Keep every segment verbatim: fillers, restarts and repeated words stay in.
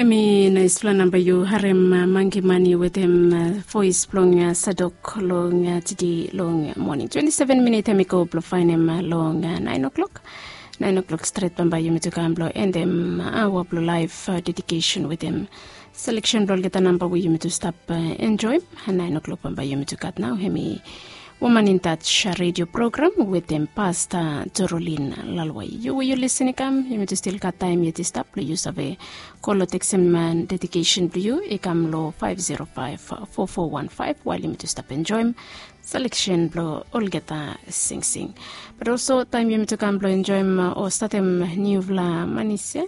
Em i naispela namba yu harem, uh, Mangi Mani wetem, uh, voes blong, uh, Sadok long, uh, tede long, uh, moning. Twenti seven minit em i go blong faenem, uh, long, uh, naen o'klok. Naen o'klok stret bambae yumi tu kam blong endem, uh, aoa blong laef, uh, dedikesen wetem seleksen blong olgeta namba we yumi tu stap, uh, enjoem. Naen o'klok bambae yumi tu gat nao em i Woman in Touch, uh, redio program wetem Pasta Torolin Lalwai. Yu we yu lisin i kam, yumi tu stil gat taem yet i stap blong yu save kol o tekstem, uh, dedikesen blong yu i kam long five zero five four four one five wael yumi tu stap enjoem seleksen blong olgeta singsing. Bat olso taem yumi tu kam blong enjoem, uh, o statem niufala manis ya,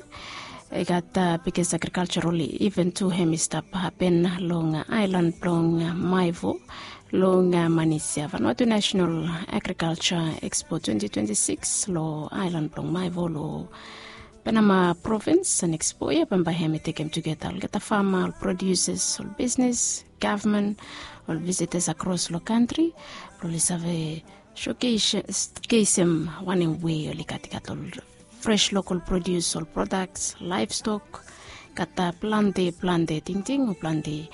i gat, uh, biggest agricultural event tu em i stap hapen long, uh, aelan blong, uh, Maevo, long, uh, manis ya, Vanuatu National Agriculture Expo twenty twenty-six long aelan blong Maevo long Penama Provins. An expo ya bambae em i tekem tugeta olgeta fama, ol producers, ol bisnes, gavman, ol visitors akros long kantri blong oli save showcase, showcasem wanem we oli gat, i gat ol fresh local produce, ol products, livestock, gat, uh, plante, plante tingting o plante,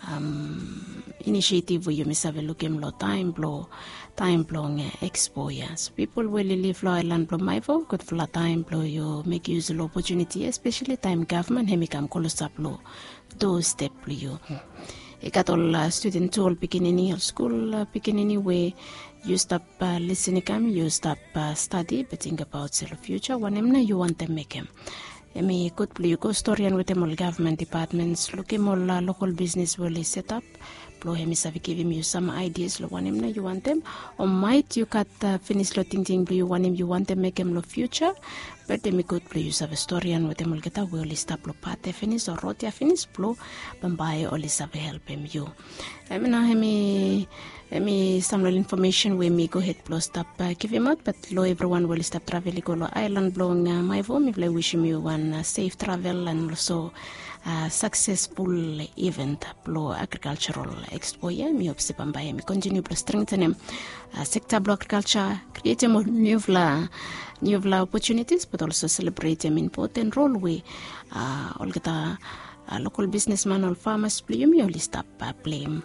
um, initiative we yumi save lukim long taem blong, taem blong, uh, expo ya. So pipol we oli liv long aelan blong Maevo, gudfala taem blong yu mek yus long opotuniti, espeseli taem gavman em i kam klosap long doorstep blong yu. I gat ol, uh, studen tu, ol pikinini, ol skul, uh, pikinini we yu stap, uh, lisin i kam, yu stap, uh, stadi, be tingbaot se long future wanem nao yu wantem mekem. Em i gud blong yu go storian wetem ol gavman depatments, lukim ol, uh, lokal bisnes we oli setap blong em i save givim yu sam aidias long wanem nao yu wantem, o maet yu gat, uh, finis long tingting blong yu wanem yu wantem mekem long future. Bat em i gud blong yu save storian wetem olgeta we oli stap long pat ya finis o rod ya finis blong bambae oli save helpem yu. Em i nao em i, em i sam long ol infomesen we mi gohed blong stap, uh, givimaot, bat long evriwan we oli stap travel i go long aelan blong, uh, Maevo, mifala i wisim yu wan, uh, sef travel an olso, uh, saksesful event blong agrikalsaral expo ya. Mi hop se bambae em i kontiniu blong strengtenem, uh, sekta blong agrikalsa, krietem ol niufala, niufala opotunitis, bat olso selebretem impoten rol we, uh, olgeta, uh, lokal bisnesman, ol famas blong yumi oli stap, uh, pleim